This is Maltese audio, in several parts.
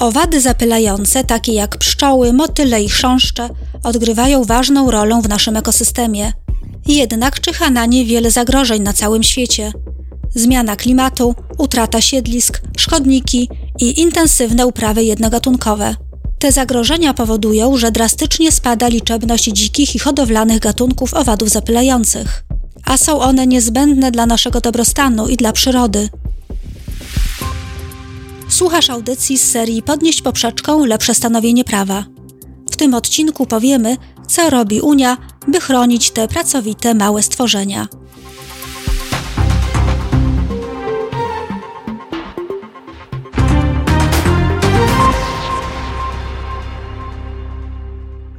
Owady zapylające, takie jak pszczoły, motyle i chrząszcze, odgrywają ważną rolę w naszym ekosystemie. Jednak czyha na nie wiele zagrożeń na całym świecie. Zmiana klimatu, utrata siedlisk, szkodniki i intensywne uprawy jednogatunkowe. Te zagrożenia powodują, że drastycznie spada liczebność dzikich i hodowlanych gatunków owadów zapylających. A są one niezbędne dla naszego dobrostanu i dla przyrody. Słuchasz audycji z serii Podnieść poprzeczką lepsze stanowienie prawa. W tym odcinku powiemy, co robi Unia, by chronić te pracowite małe stworzenia.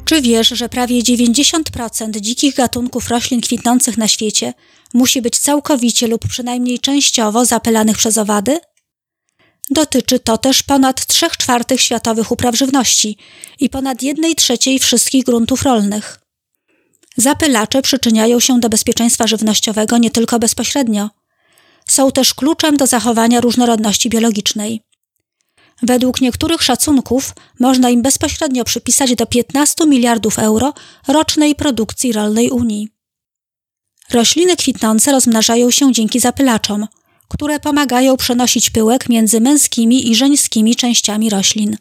Czy wiesz, że prawie 90% dzikich gatunków roślin kwitnących na świecie musi być całkowicie lub przynajmniej częściowo zapylanych przez owady? Dotyczy to też ponad 3/4 światowych upraw żywności i ponad 1/3 wszystkich gruntów rolnych. Zapylacze przyczyniają się do bezpieczeństwa żywnościowego nie tylko bezpośrednio. Są też kluczem do zachowania różnorodności biologicznej. Według niektórych szacunków można im bezpośrednio przypisać do 15 miliardów euro rocznej produkcji rolnej Unii. Rośliny kwitnące rozmnażają się dzięki zapylaczom, które pomagają przenosić pyłek między męskimi i żeńskimi częściami roślin.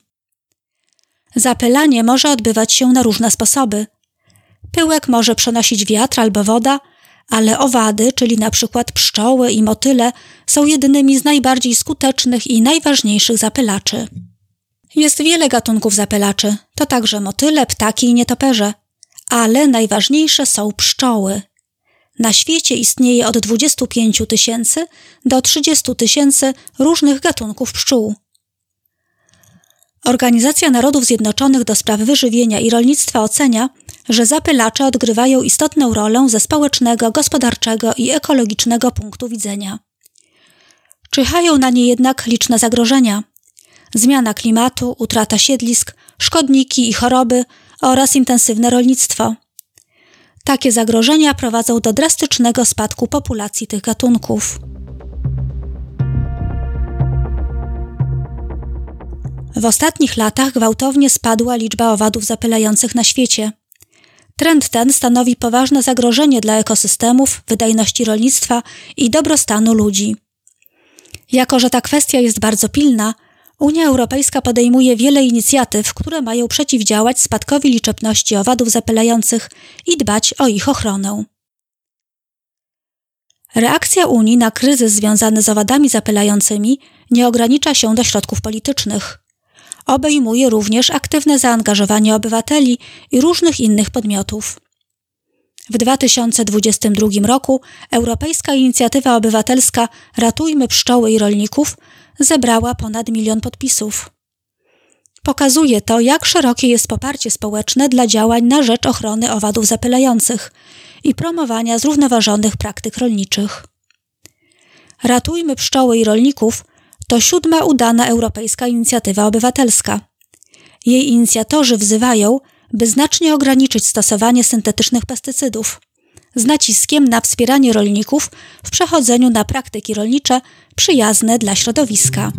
Zapylanie może odbywać się na różne sposoby. Pyłek może przenosić wiatr albo woda, ale owady, czyli na przykład pszczoły i motyle, są jednymi z najbardziej skutecznych i najważniejszych zapylaczy. Jest wiele gatunków zapylaczy, to także motyle, ptaki i nietoperze, ale najważniejsze są pszczoły. Na świecie istnieje od 25 tysięcy do 30 tysięcy różnych gatunków pszczół. Organizacja Narodów Zjednoczonych do spraw wyżywienia i rolnictwa ocenia, że zapylacze odgrywają istotną rolę ze społecznego, gospodarczego i ekologicznego punktu widzenia. Czyhają na nie jednak liczne zagrożenia. Zmiana klimatu, utrata siedlisk, szkodniki i choroby oraz intensywne rolnictwo. Takie zagrożenia prowadzą do drastycznego spadku populacji tych gatunków. W ostatnich latach gwałtownie spadła liczba owadów zapylających na świecie. Trend ten stanowi poważne zagrożenie dla ekosystemów, wydajności rolnictwa i dobrostanu ludzi. Jako że ta kwestia jest bardzo pilna, Unia Europejska podejmuje wiele inicjatyw, które mają przeciwdziałać spadkowi liczebności owadów zapylających i dbać o ich ochronę. Reakcja Unii na kryzys związany z owadami zapylającymi nie ogranicza się do środków politycznych. Obejmuje również aktywne zaangażowanie obywateli i różnych innych podmiotów. W 2022 roku Europejska Inicjatywa Obywatelska Ratujmy Pszczoły i Rolników zebrała ponad 1 milion podpisów. Pokazuje to, jak szerokie jest poparcie społeczne dla działań na rzecz ochrony owadów zapylających i promowania zrównoważonych praktyk rolniczych. Ratujmy Pszczoły i Rolników to 7. udana europejska inicjatywa obywatelska. Jej inicjatorzy wzywają, by znacznie ograniczyć stosowanie syntetycznych pestycydów, z naciskiem na wspieranie rolników w przechodzeniu na praktyki rolnicze przyjazne dla środowiska.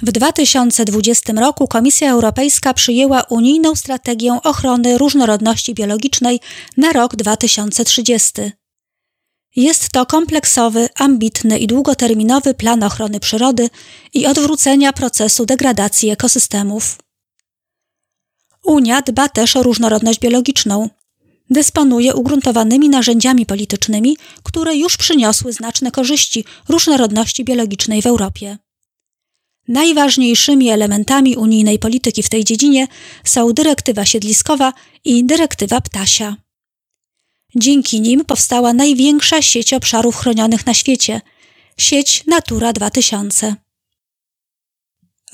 W 2020 roku Komisja Europejska przyjęła unijną strategię ochrony różnorodności biologicznej na rok 2030. Jest to kompleksowy, ambitny i długoterminowy plan ochrony przyrody i odwrócenia procesu degradacji ekosystemów. Unia dba też o różnorodność biologiczną. Dysponuje ugruntowanymi narzędziami politycznymi, które już przyniosły znaczne korzyści różnorodności biologicznej w Europie. Najważniejszymi elementami unijnej polityki w tej dziedzinie są dyrektywa siedliskowa i dyrektywa ptasia. Dzięki nim powstała największa sieć obszarów chronionych na świecie – sieć Natura 2000.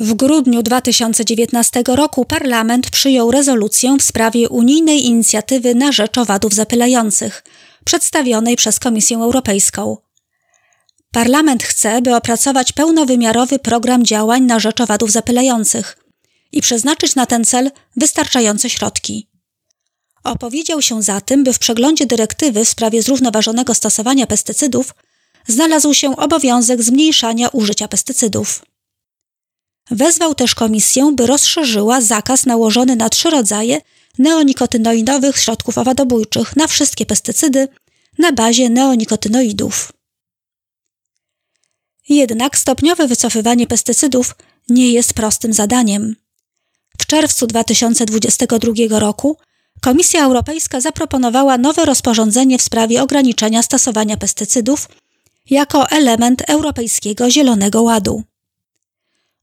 W grudniu 2019 roku parlament przyjął rezolucję w sprawie unijnej inicjatywy na rzecz owadów zapylających, przedstawionej przez Komisję Europejską. Parlament chce, by opracować pełnowymiarowy program działań na rzecz owadów zapylających i przeznaczyć na ten cel wystarczające środki. Opowiedział się za tym, by w przeglądzie dyrektywy w sprawie zrównoważonego stosowania pestycydów znalazł się obowiązek zmniejszania użycia pestycydów. Wezwał też komisję, by rozszerzyła zakaz nałożony na trzy rodzaje neonikotynoidowych środków owadobójczych na wszystkie pestycydy na bazie neonikotynoidów. Jednak stopniowe wycofywanie pestycydów nie jest prostym zadaniem. W czerwcu 2022 roku Komisja Europejska zaproponowała nowe rozporządzenie w sprawie ograniczenia stosowania pestycydów jako element Europejskiego Zielonego Ładu.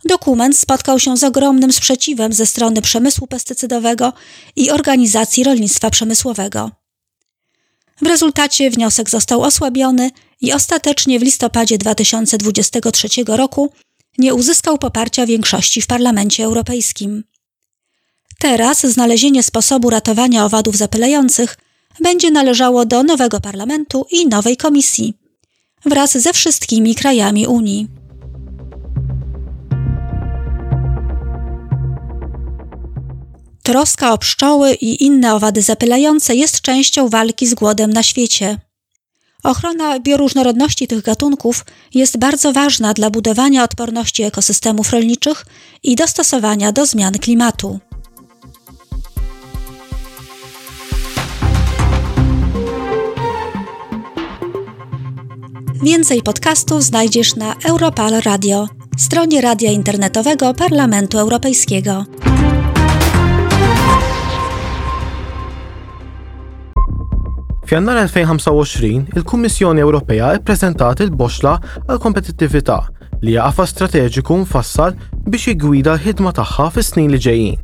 Dokument spotkał się z ogromnym sprzeciwem ze strony przemysłu pestycydowego i organizacji rolnictwa przemysłowego. W rezultacie wniosek został osłabiony i ostatecznie w listopadzie 2023 roku nie uzyskał poparcia większości w Parlamencie Europejskim. Teraz znalezienie sposobu ratowania owadów zapylających będzie należało do nowego parlamentu i nowej komisji wraz ze wszystkimi krajami Unii. Troska o pszczoły i inne owady zapylające jest częścią walki z głodem na świecie. Ochrona bioróżnorodności tych gatunków jest bardzo ważna dla budowania odporności ekosystemów rolniczych i dostosowania do zmian klimatu. Więcej podcastów znajdziesz na Europal Radio, stronie radia internetowego Parlamentu Europejskiego. F'Jannar 2025, il-Kummissjoni Ewropea ppreżentat il-Boxxla għall-Kompetittività, li hija qafas strateġiku mfassal biex jiggwida l-ħidma tagħha fis-snin li ġejjin.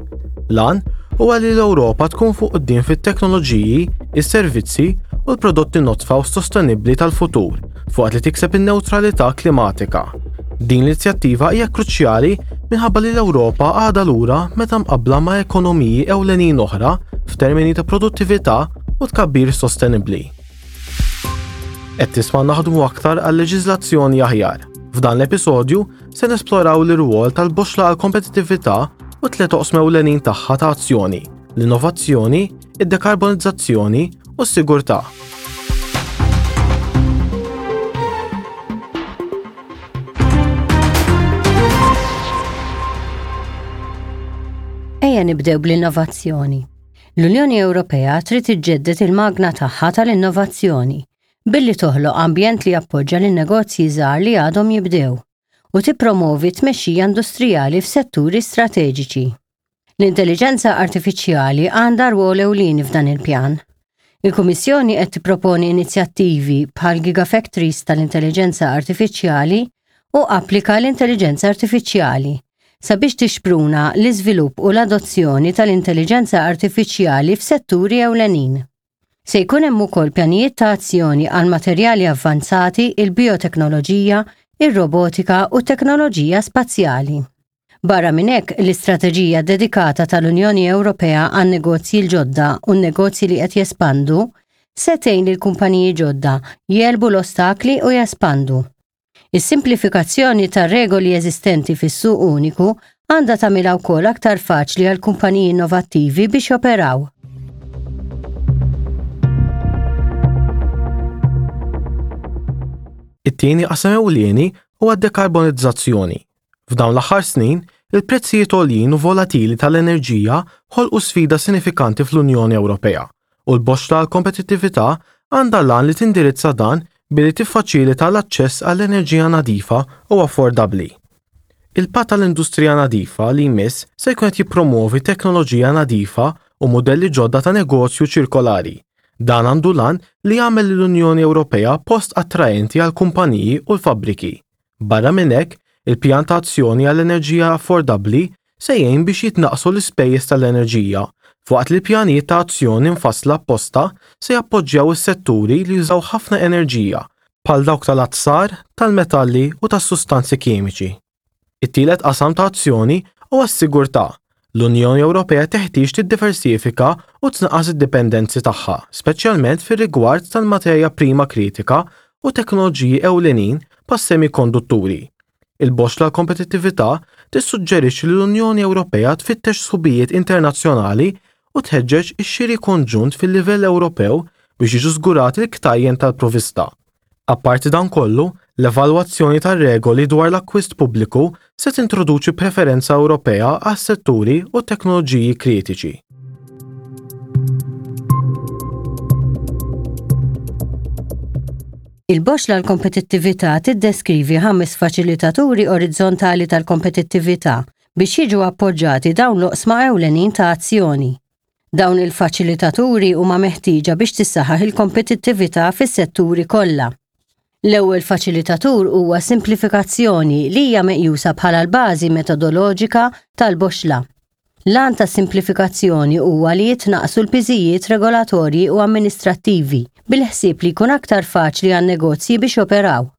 L-għan huwa li l-Ewropa tkun fuq quddiem fit-teknoloġiji, is-servizzi u l-prodotti nodfa u sostenibbli tal-futur fuqat li tikseb in-newtralità klimatika. Din l-inizjattiva hija kruċjali minħabba li l-Ewropa għadha lura meta mqabbla ma' ekonomiji ewlenin oħra f'termini ta' produttività u tkabbir sostenibbli. Qed tisma' naħdmu aktar għal leġiżlazzjoni aħjar. F'dan l-episodju se nesploraw l-irwol tal-boxla għal kompetittività u tliet oqsma ewlenin tagħha ta' azzjoni, l-innovazzjoni, id-dekarbonizzazzjoni u s-sigurtà. Ejja nibdew bl-innovazzjoni. L-Unjoni Ewropea trid iġġedded il-magna tagħha tal-innovazzjoni billi toħloq ambjent li jappoġġa lin-negozji żgħar li għadhom jibdew u tippromovi t-tmexxija industrijali f'setturi strateġiċi. L-intelliġenza artifiċjali għandha rwol ewlieni f'dan il-pjan. Il-Kummissjoni qed tipproponi inizjattivi bħal Gigafactories tal-Intelliġenza Artifiċjali u Applika l-Intelliġenza Artifiċjali sabiex tixpruna l-iżvilupp u l-adozzjoni tal-intelliġenza artifiċjali f'setturi ewlenin. Se jkun hemm ukoll pjanijiet ta' azzjoni għal materjali avvanzati, il-bijoteknoloġija, ir-robotika u t-teknoloġija spazjali. Barra minn hekk, l-istrateġija ddedikata tal-Unjoni Ewropea għan-negozji l-ġodda u n-negozji li qed jespandu se tgħin lill-kumpaniji ġodda jegħlbu l-ostakli u jespandu. Is-simplifikazzjoni tar-regoli eżistenti fis-suq uniku għandha tagħmilha wkoll aktar faċli għal kumpaniji innovattivi biex joperaw. It-tieni qasam ewlieni huwa d-dekarbonizzazzjoni. F'dawn l-aħħar snin, il-prezzijiet għoljin u volatili tal-enerġija ħolqu sfida sinifikanti fl-Unjoni Ewropea, u l-boxxla għall-kompetittività għandha l-għan li tindirizza dan billi tiffaċilita l-aċċess għall-enerġija nadifa u affordabbli. Il-Patt għall-Industrija Nadifa li jmiss se jkun qed jippromwovi teknoloġija nadifa u mudelli ġodda ta' negozju ċirkolari. Dan għandu l-għan li jagħmel lill-Unjoni Ewropea post attraenti għall-kumpaniji u l-fabbriki. Barra minn hekk, il-Pjan ta' Azzjoni għal Enerġija Affordabbli se jgħin biex jitnaqqsu l-ispejjeż tal-enerġija, filwaqt li l-pjanijiet ta' azzjoni mfassla apposta se jappoġġjaw is-setturi li jużaw ħafna enerġija, bħal dawk tal-azzar, tal-metalli u tas-sustanzi kimiċi. It-tielet qasam ta' azzjoni huwa s-sigurtà. L-Unjoni Ewropea teħtieġ tiddiversifika u tnaqqas id-dipendenzi tagħha, speċjalment fir-rigward tal-materja prima kritika u teknoloġiji ewlenin bħas-semikondutturi. Il-boxxla għall-kompetittività tissuġġerixxi li l-Unjoni Ewropea tfittex sħubijiet internazzjonali u tħeġġeġ ix-xiri konġunt fil-livell Ewropew biex jiġu żgurati l-ktajjen tal-provvista. Apparti dan kollu, l-evalwazzjoni tar-regoli dwar l-akkwist pubbliku se tintroduċi preferenza Ewropea għas-setturi u t-teknoloġiji kritiċi. Il-Boxla għall-Kompetittività tiddeskrivi ħames faċilitaturi orizzontali tal-kompetittività biex jiġu appoġġati dawn l-oqsma ewlenin ta' azzjoni. Dawn il-faċilitaturi huma meħtieġa biex tissaħħaħ il-kompetittività fis-setturi kollha. L-ewwel faċilitatur huwa s-simplifikazzjoni li hija meqjusa bħala l-bażi metodoloġika tal-boxla. L-għan tas-simplifikazzjoni huwa li jitnaqqsu l-piżijiet regolatorji u amministrattivi bil-ħsieb li jkun aktar faċli għan-negozji biex joperaw.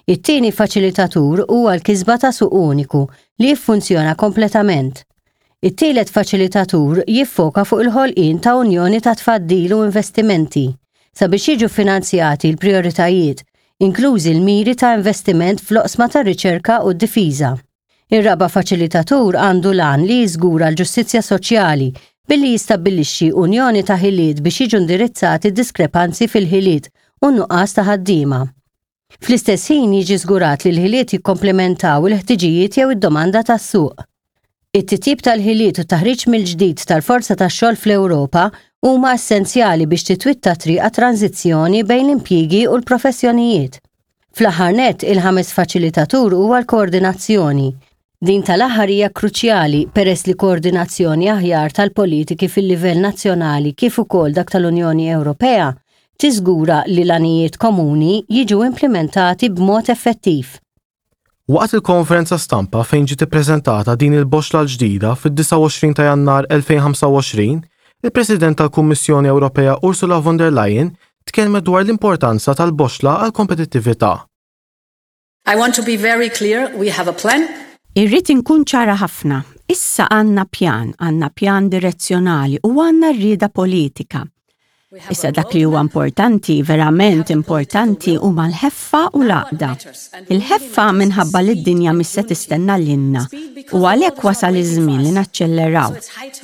It-tieni faċilitatur huwa l-kisba ta' suq uniku li jiffunzjona kompletament. It-tielet faċilitatur jiffoka fuq il-ħolqien ta' unjoni ta' tfaddil u investimenti sabiex jiġu ffinanzjati l-prijoritajiet, inklużi l-miri ta' investiment fl-oqsma tar-riċerka u d-difiża. Ir-raba' faċilitatur għandu l-għan li jiżgura l-ġustizzja soċjali billi jistabbilixxi unjoni ta' ħiliet biex jiġu indirizzati d-diskrepanzi fil-ħiliet u n-nuqqas ta' ħaddiema. Fl-istess ħin jiġi żgurat li l-ħiliet jikkomplementaw il-ħtiġijiet jew id-domanda tas-suq. It-titjib tal-ħiliet u t-taħriġ mill-ġdid tal-forza tax-xogħol fl-Ewropa huma essenzjali biex titwitta t-triq għat-tranżizzjoni bejn l-impjiegi u l-professjonijiet. Fl-aħħar nett, il-ħames faċilitatur huwa l-koordinazzjoni. Din tal-aħħar hija kruċjali peress li koordinazzjoni aħjar tal-politiki fil-livell nazzjonali kif ukoll dak tal-Unjoni Ewropea tiżgura li l-għanijiet komuni jiġu implimentati b'mod effettiv. Waqt il-konferenza stampa fejn ġiet ippreżentata din il-boxla l-ġdida fid-29 ta' Jannar 2025, il-President tal-Kummissjoni Ewropea Ursula von der Leyen tkellmet dwar l-importanza tal-boxla għall-kompetittività. I want to be very clear, we have a plan. Irrid inkun ċara ħafna. Issa għandna pjan, għandna pjan direzzjonali u għandna r-rieda politika. Issa dak li huwa importanti, verament importanti, huma l-ħeffa u l-għaqda. Il-ħeffa minħabba li d-dinja mhix se tistenna lilna u għalhekk wasal iż-żmien li naċċelleraw.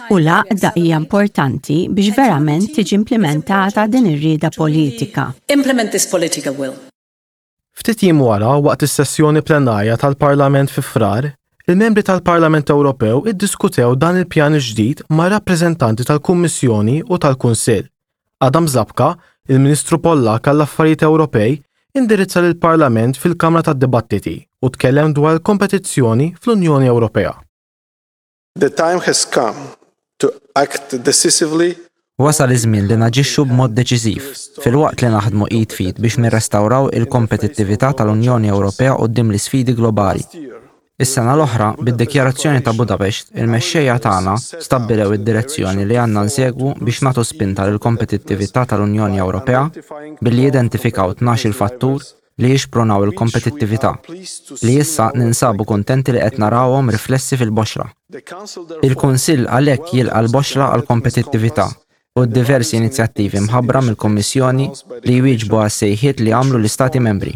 U l-għaqda hija importanti biex verament tiġi implimentata din ir-rieda politika. Implement this political will. Ftit jiem wara, waqt is-sessjoni plenarja tal-Parlament fi Frar, il-membri tal-Parlament Ewropew iddiskutew dan il-pjan il-ġdid ma' rappreżentanti tal-Kummissjoni u tal-Kunsill. Adam Zabka, il-Ministru Pollakk għall-Affarijiet Ewropej, indirizza lill-Parlament fil-Kamra tad-Dibattiti u tkellem dwar il-kompetizzjoni fl-Unjoni Ewropea. The time has come to act decisively. Wasal iż-żmien li naġixxu b'mod deċiżiv, filwaqt li naħdmu id f'id biex nirrestawraw il-kompetittività tal-Unjoni Ewropea quddiem l-isfidi globali. Is-sena l-oħra, bid-Dikjarazzjoni ta' Budapest, il-mexxejja tagħna stabbilew id-direzzjoni li għandna nsegwu biex nagħtu spinta lill-kompetittività tal-Unjoni Ewropea billi jidentifikaw tnax-il fattur li jixprunaw il-kompetittività, li issa ninsabu kuntenti li qed narawhom riflessi fil-boxra. Il-Kunsill għalhekk jilqa' l-boxra għall-kompetittività u d-diversi inizjattivi mħabbra mill-Kummissjoni li jwieġbu għas-sejħiet li għamlu l-Istati Membri.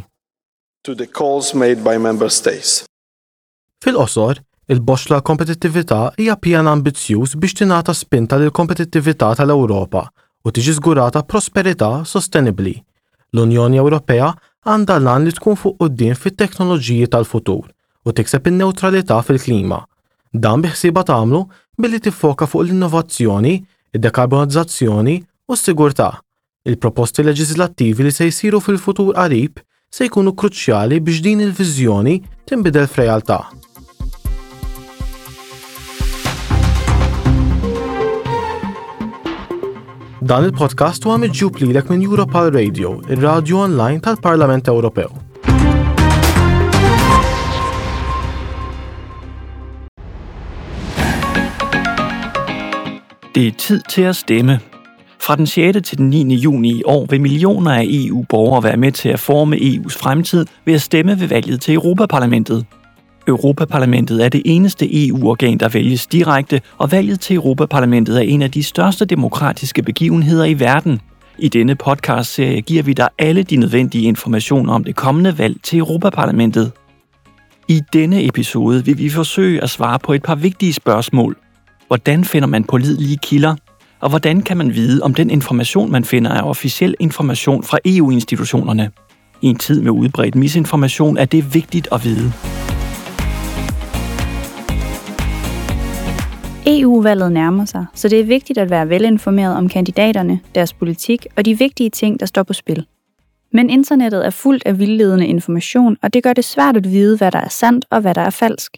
Fil-qosor, il-Boxla għall-Kompetittività hija pjan ambizzjuż biex tingħata spinta lill-kompetittività tal-Ewropa u tiġi żgurata prosperità sostenibbli. L-Unjoni Ewropea għandha l-għan li tkun fuq quddiem fit-teknoloġiji tal-futur u tikseb in-newtralità fil-klima. Dan biħsiebha tagħmlu billi tiffoka fuq l-innovazzjoni, id-dekarbonizzazzjoni u s-sigurtà. Il-proposti leġiżlattivi li se jsiru fil-futur qarib se jkunu kruċjali biex din il-viżjoni tinbidel f'realtà. Dan il-podcast huwa miġjub lilek minn Europal Radio, ir-radju online tal-Parlament Ewropew. Det er tid til at stemme. Fra den 6. til den 9. juni i år vil millioner af EU-borgere være med til at forme EU's fremtid ved at stemme ved valget til Europaparlamentet. Europaparlamentet er det eneste EU-organ, der vælges direkte, og valget til Europaparlamentet er en af de største demokratiske begivenheder i verden. I denne podcastserie giver vi dig alle de nødvendige informationer om det kommende valg til Europaparlamentet. I denne episode vil vi forsøge at svare på et par vigtige spørgsmål. Hvordan finder man pålidelige kilder? Og hvordan kan man vide, om den information, man finder, er officiel information fra EU-institutionerne? I en tid med udbredt misinformation er det vigtigt at vide. EU-valget nærmer sig, så det er vigtigt at være velinformeret om kandidaterne, deres politik og de vigtige ting, der står på spil. Men internettet er fuldt af vildledende information, og det gør det svært at vide, hvad der er sandt og hvad der er falsk.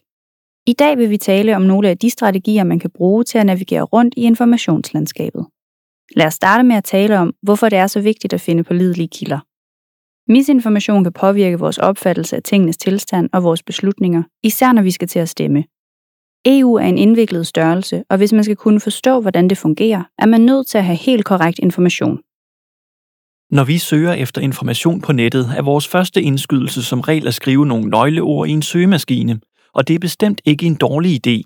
I dag vil vi tale om nogle af de strategier, man kan bruge til at navigere rundt i informationslandskabet. Lad os starte med at tale om, hvorfor det er så vigtigt at finde pålidelige kilder. Misinformation kan påvirke vores opfattelse af tingenes tilstand og vores beslutninger, især når vi skal til at stemme. EU er en indviklet størrelse, og hvis man skal kunne forstå, hvordan det fungerer, er man nødt til at have helt korrekt information. Når vi søger efter information på nettet, er vores første indskydelse som regel at skrive nogle nøgleord i en søgemaskine, og det er bestemt ikke en dårlig idé.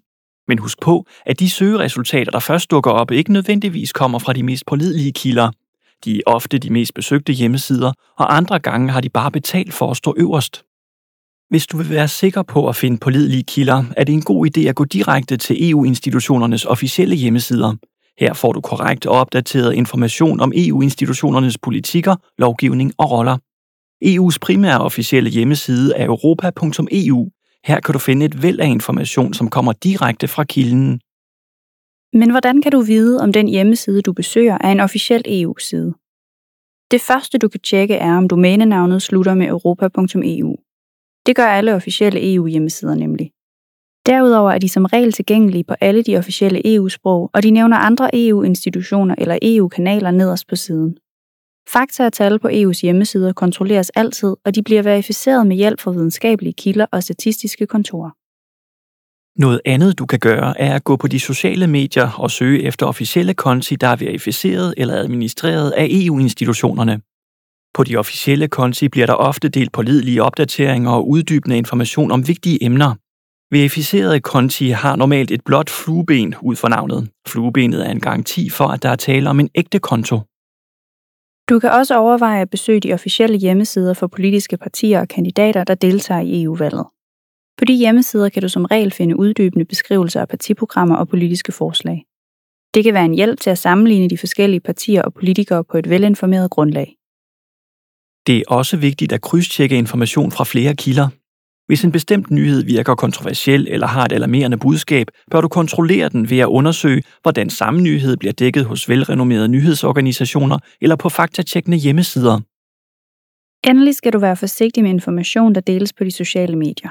Men husk på, at de søgeresultater, der først dukker op, ikke nødvendigvis kommer fra de mest pålidelige kilder. De er ofte de mest besøgte hjemmesider, og andre gange har de bare betalt for at stå øverst. Hvis du vil være sikker på at finde pålidelige kilder, er det en god idé at gå direkte til EU-institutionernes officielle hjemmesider. Her får du korrekt og opdateret information om EU-institutionernes politikker, lovgivning og roller. EU's primære officielle hjemmeside er europa.eu. Her kan du finde et væld af information, som kommer direkte fra kilden. Men hvordan kan du vide, om den hjemmeside, du besøger, er en officiel EU-side? Det første, du kan tjekke, er, om domænenavnet slutter med europa.eu. Det gør alle officielle EU-hjemmesider nemlig. Derudover er de som regel tilgængelige på alle de officielle EU-sprog, og de nævner andre EU-institutioner eller EU-kanaler nederst på siden. Fakta og tal på EU's hjemmesider kontrolleres altid, og de bliver verificeret med hjælp fra videnskabelige kilder og statistiske kontorer. Noget andet, du kan gøre, er at gå på de sociale medier og søge efter officielle konti, der er verificeret eller administreret af EU-institutionerne. På de officielle konti bliver der ofte delt pålidelige opdateringer og uddybende information om vigtige emner. Verificerede konti har normalt et blåt flueben ud for navnet. Fluebenet er en garanti for, at der er tale om en ægte konto. Du kan også overveje at besøge de officielle hjemmesider for politiske partier og kandidater, der deltager i EU-valget. På de hjemmesider kan du som regel finde uddybende beskrivelser af partiprogrammer og politiske forslag. Det kan være en hjælp til at sammenligne de forskellige partier og politikere på et velinformeret grundlag. Det er også vigtigt at krydstjekke information fra flere kilder. Hvis en bestemt nyhed virker kontroversiel eller har et alarmerende budskab, bør du kontrollere den ved at undersøge, hvordan samme nyhed bliver dækket hos velrenommerede nyhedsorganisationer eller på faktatjekkende hjemmesider. Endelig skal du være forsigtig med information, der deles på de sociale medier.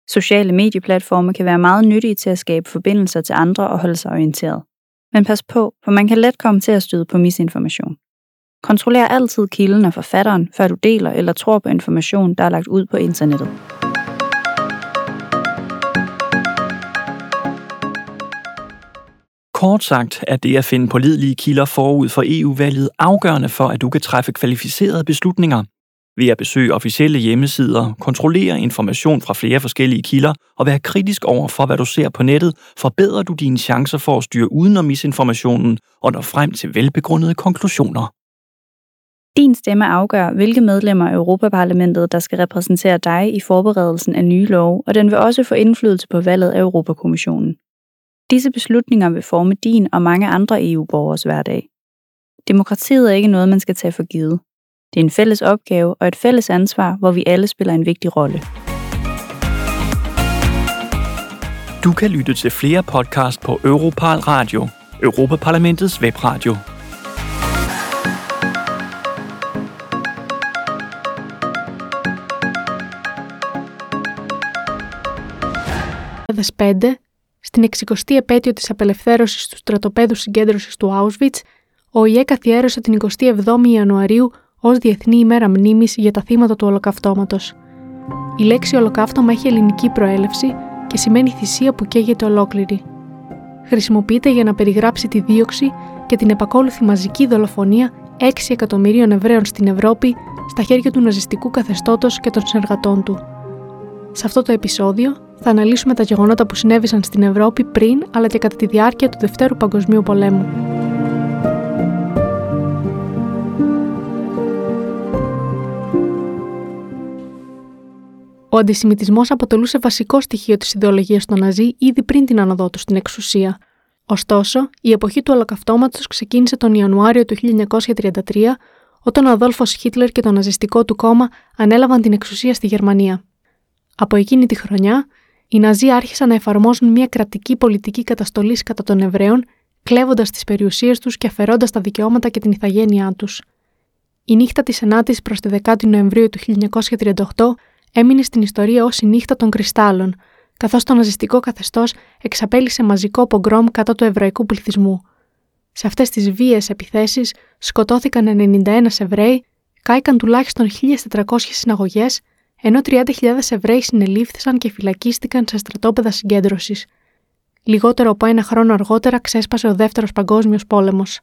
Sociale medieplatforme kan være meget nyttige til at skabe forbindelser til andre og holde sig orienteret. Men pas på, for man kan let komme til at støde på misinformation. Kontroller altid kilden og forfatteren, før du deler eller tror på information, der er lagt ud på internettet. Kort sagt er det at finde pålidelige kilder forud for EU-valget afgørende for, at du kan træffe kvalificerede beslutninger. Ved at besøge officielle hjemmesider, kontrollere information fra flere forskellige kilder og være kritisk over for, hvad du ser på nettet, forbedrer du dine chancer for at styre udenom misinformationen og nå frem til velbegrundede konklusioner. Din stemme afgør, hvilke medlemmer af Europaparlamentet, der skal repræsentere dig i forberedelsen af nye love, og den vil også få indflydelse på valget af Europakommissionen. Disse beslutninger vil forme din og mange andre EU-borgers hverdag. Demokratiet er ikke noget, man skal tage for givet. Det er en fælles opgave og et fælles ansvar, hvor vi alle spiller en vigtig rolle. Du kan lytte til flere podcast på Europarl Radio, Europaparlamentets webradio. «5, στην 60η επέτειο της απελευθέρωσης του στρατοπέδου συγκέντρωσης του Auschwitz, ο ΟΗΕ καθιέρωσε την 27η Ιανουαρίου ως Διεθνή ημέρα μνήμης για τα θύματα του Ολοκαυτώματος. Η λέξη Ολοκαύτωμα έχει ελληνική προέλευση και σημαίνει θυσία που καίγεται ολόκληρη. Χρησιμοποιείται για να περιγράψει τη δίωξη και την επακόλουθη μαζική δολοφονία 6 εκατομμυρίων Εβραίων στην Ευρώπη στα χέρια του ναζιστικού καθεστώτος και των συνεργατών του. Σε αυτό το επεισόδιο θα αναλύσουμε τα γεγονότα που συνέβησαν στην Ευρώπη πριν αλλά και κατά τη διάρκεια του Δευτέρου Παγκοσμίου Πολέμου. Ο αντισημιτισμός αποτελούσε βασικό στοιχείο της ιδεολογίας των Ναζί ήδη πριν την άνοδό του στην εξουσία. Ωστόσο, η εποχή του Ολοκαυτώματος ξεκίνησε τον Ιανουάριο του 1933, όταν ο Αδόλφος Χίτλερ και το ναζιστικό του κόμμα ανέλαβαν την εξουσία στη Γερμανία. Από εκείνη τη χρονιά, οι Ναζί άρχισαν να εφαρμόζουν μια κρατική πολιτική καταστολής κατά των Εβραίων, κλέβοντας τις περιουσίες τους και αφαιρώντας τα δικαιώματα και την ιθαγένειά τους. Η νύχτα της 9ης προς τη 10η Νοεμβρίου του 1938 έμεινε στην ιστορία ως η νύχτα των κρυστάλλων, καθώς το ναζιστικό καθεστώς εξαπέλυσε μαζικό πογκρόμ κατά του εβραϊκού πληθυσμού. Σε αυτές τις βίαιες επιθέσεις σκοτώθηκαν 91 Εβραίοι, κάηκαν τουλάχιστον 1.400 συναγωγές, ενώ 30.000 Εβραίοι συνελήφθησαν και φυλακίστηκαν σε στρατόπεδα συγκέντρωσης. Λιγότερο από ένα χρόνο αργότερα ξέσπασε ο Δεύτερος Παγκόσμιος Πόλεμος.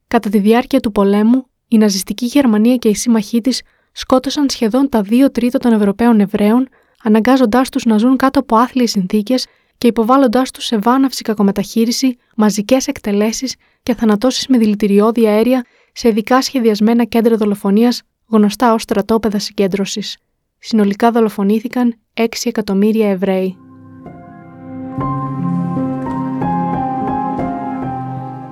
Κατά τη διάρκεια του πολέμου, η ναζιστική Γερμανία και οι σύμμαχοί της σκότωσαν σχεδόν τα 2/3 των Ευρωπαίων Εβραίων, αναγκάζοντάς τους να ζουν κάτω από άθλιες συνθήκες και υποβάλλοντάς τους σε βάναυση κακομεταχείριση, μαζικές εκτελέσεις και θανατώσεις με δηλητηριώδη αέρια σε ειδικά σχεδιασμένα κέντρα δολοφονίας γνωστά ως στρατόπεδα συγκέντρωσης. Συνολικά δολοφονήθηκαν 6 εκατομμύρια Εβραίοι.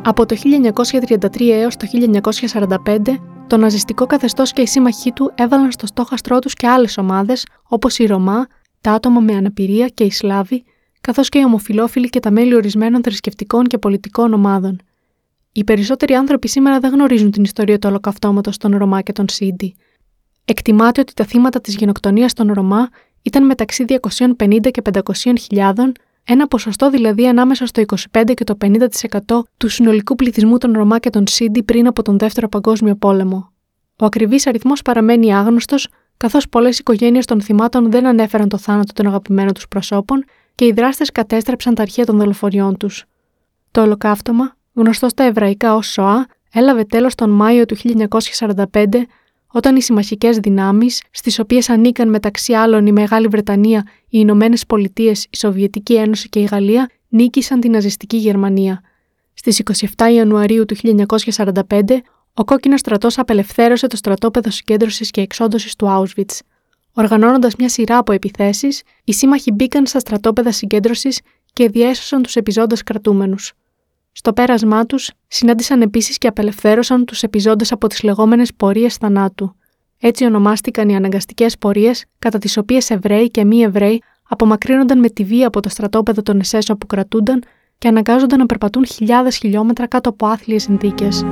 Από το 1933 έως το 1945, το ναζιστικό καθεστώς και οι σύμμαχοί του έβαλαν στο στόχαστρό τους και άλλες ομάδες, όπως οι Ρωμά, τα άτομα με αναπηρία και οι Σλάβοι, καθώς και οι ομοφυλόφιλοι και τα μέλη ορισμένων θρησκευτικών και πολιτικών ομάδων. Οι περισσότεροι άνθρωποι σήμερα δεν γνωρίζουν την ιστορία του ολοκαυτώματος των Ρωμά και των Σίντι. Εκτιμάται ότι τα θύματα της γενοκτονίας των Ρωμά ήταν μεταξύ 250 και 500 χιλιάδων, ένα ποσοστό δηλαδή ανάμεσα στο 25% και το 50% του συνολικού πληθυσμού των Ρωμά και των Σίντι πριν από τον Δεύτερο Παγκόσμιο Πόλεμο. Ο ακριβής αριθμός παραμένει άγνωστος, καθώς πολλές οικογένειες των θυμάτων δεν ανέφεραν το θάνατο των αγαπημένων τους προσώπων και οι δράστες κατέστρεψαν τα αρχεία των δολοφονιών τους. Το ολοκαύτωμα, γνωστό στα εβραϊκά ως Σοά, έλαβε τέλος τον Μάιο του 1945, όταν οι συμμαχικές δυνάμεις, στις οποίες ανήκαν μεταξύ άλλων η Μεγάλη Βρετανία, οι Ηνωμένες Πολιτείες, η Σοβιετική Ένωση και η Γαλλία, νίκησαν την ναζιστική Γερμανία. Στις 27 Ιανουαρίου του 1945, ο Κόκκινος Στρατός απελευθέρωσε το στρατόπεδο συγκέντρωσης και εξόντωσης του Auschwitz. Οργανώνοντας μια σειρά από επιθέσεις, οι σύμμαχοι μπήκαν στα στρατόπεδα συγκέντρωσης και διέσωσαν τους επιζώντες κρατούμενους. Στο πέρασμά τους, συνάντησαν επίσης και απελευθέρωσαν τους επιζώντες από τις λεγόμενες πορείες θανάτου. Έτσι ονομάστηκαν οι αναγκαστικές πορείες, κατά τις οποίες Εβραίοι και μη Εβραίοι απομακρύνονταν με τη βία από το στρατόπεδο των ΕΣΕΣ όπου κρατούνταν και αναγκάζονταν να περπατούν χιλιάδες χιλιόμετρα κάτω από άθλιες συνθήκες.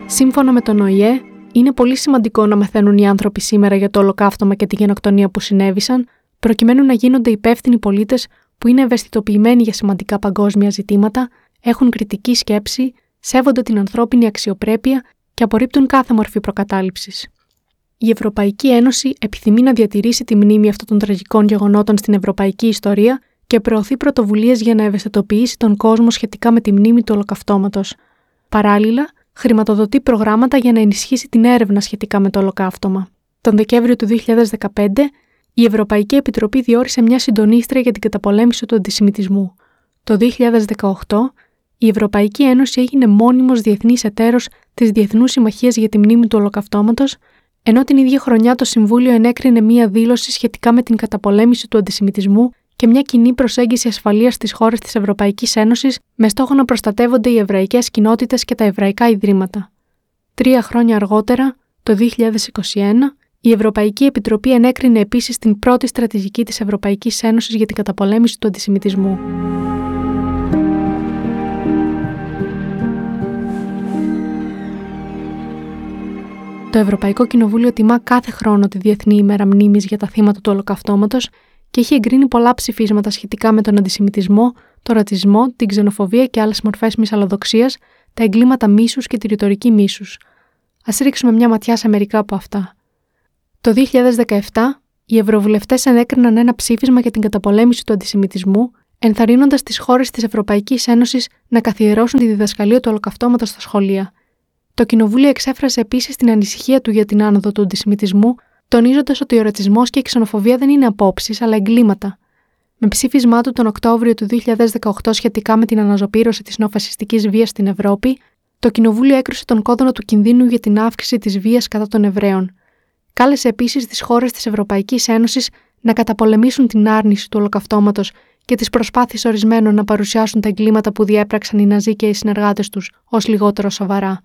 Σύμφωνα με τον ΟΗΕ, είναι πολύ σημαντικό να μαθαίνουν οι άνθρωποι σήμερα για το ολοκαύτωμα και τη γενοκτονία που συνέβησαν, προκειμένου να γίνονται υπεύθυνοι πολίτες που είναι ευαισθητοποιημένοι για σημαντικά παγκόσμια ζητήματα, έχουν κριτική σκέψη, σέβονται την ανθρώπινη αξιοπρέπεια και απορρίπτουν κάθε μορφή προκατάληψης. Η Ευρωπαϊκή Ένωση επιθυμεί να διατηρήσει τη μνήμη αυτών των τραγικών γεγονότων στην ευρωπαϊκή ιστορία και προωθεί πρωτοβουλίες για να ευαισθητοποιήσει τον κόσμο σχετικά με τη μνήμη του ολοκαυτώματος. Παράλληλα, χρηματοδοτεί προγράμματα για να ενισχύσει την έρευνα σχετικά με το ολοκαύτωμα. Τον Δεκέμβριο του 2015, η Ευρωπαϊκή Επιτροπή διόρισε μια συντονίστρια για την καταπολέμηση του αντισημιτισμού. Το 2018, η Ευρωπαϊκή Ένωση έγινε μόνιμος διεθνής εταίρος της Διεθνούς Συμμαχίας για τη Μνήμη του Ολοκαυτώματος, ενώ την ίδια χρονιά το Συμβούλιο ενέκρινε μια δήλωση σχετικά με την καταπολέμηση του αντισημιτισμού και μια κοινή προσέγγιση ασφαλείας στις χώρες της Ευρωπαϊκής Ένωσης με στόχο να προστατεύονται οι εβραϊκές κοινότητες και τα εβραϊκά ιδρύματα. 3 χρόνια αργότερα, το 2021, η Ευρωπαϊκή Επιτροπή ενέκρινε επίσης την πρώτη στρατηγική της Ευρωπαϊκής Ένωσης για την καταπολέμηση του αντισημιτισμού. Το Ευρωπαϊκό Κοινοβούλιο τιμά κάθε χρόνο τη Διεθνή ημέρα μνήμης για τα θύματα του Ολοκαυτώματος και έχει εγκρίνει πολλά ψηφίσματα σχετικά με τον αντισημιτισμό, τον ρατσισμό, την ξενοφοβία και άλλες μορφές μυσαλλοδοξίας, τα εγκλήματα μίσους και τη ρητορική μίσους. Ας ρίξουμε μια ματιά σε μερικά από αυτά. Το 2017, οι ευρωβουλευτές ενέκριναν ένα ψήφισμα για την καταπολέμηση του αντισημιτισμού, ενθαρρύνοντας τις χώρες της Ευρωπαϊκής Ένωσης να καθιερώσουν τη διδασκαλία του Ολοκαυτώματος στα σχολεία. Το Κοινοβούλιο εξέφρασε επίσης την ανησυχία του για την άνοδο του αντισημιτισμού, τονίζοντας ότι ο ρατσισμός και η ξενοφοβία δεν είναι απόψεις, αλλά εγκλήματα. Με ψήφισμά του τον Οκτώβριο του 2018 σχετικά με την αναζωπήρωση της νεοφασιστικής βίας στην Ευρώπη, το Κοινοβούλιο έκρουσε τον κόδωνα του κινδύνου για την αύξηση της βίας κατά των Εβραίων. Κάλεσε επίσης τις χώρες της Ευρωπαϊκής Ένωσης να καταπολεμήσουν την άρνηση του Ολοκαυτώματος και τις προσπάθειες ορισμένων να παρουσιάσουν τα εγκλήματα που διέπραξαν οι Ναζί και οι συνεργάτες τους ως λιγότερο σοβαρά.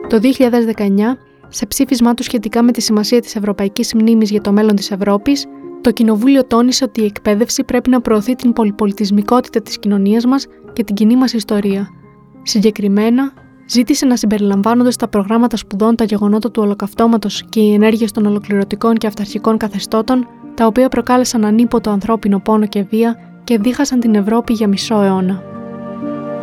Το 2019, σε ψήφισμά του σχετικά με τη σημασία της Ευρωπαϊκής Μνήμης για το μέλλον της Ευρώπης, το Κοινοβούλιο τόνισε ότι η εκπαίδευση πρέπει να προωθεί την πολυπολιτισμικότητα της κοινωνίας μας και την κοινή μας ιστορία. Συγκεκριμένα, ζήτησε να συμπεριλαμβάνονται στα προγράμματα σπουδών τα γεγονότα του Ολοκαυτώματος και οι ενέργειες των ολοκληρωτικών και αυταρχικών καθεστώτων, τα οποία προκάλεσαν ανίποτο ανθρώπινο πόνο και βία και δίχασαν την Ευρώπη για μισό αιώνα.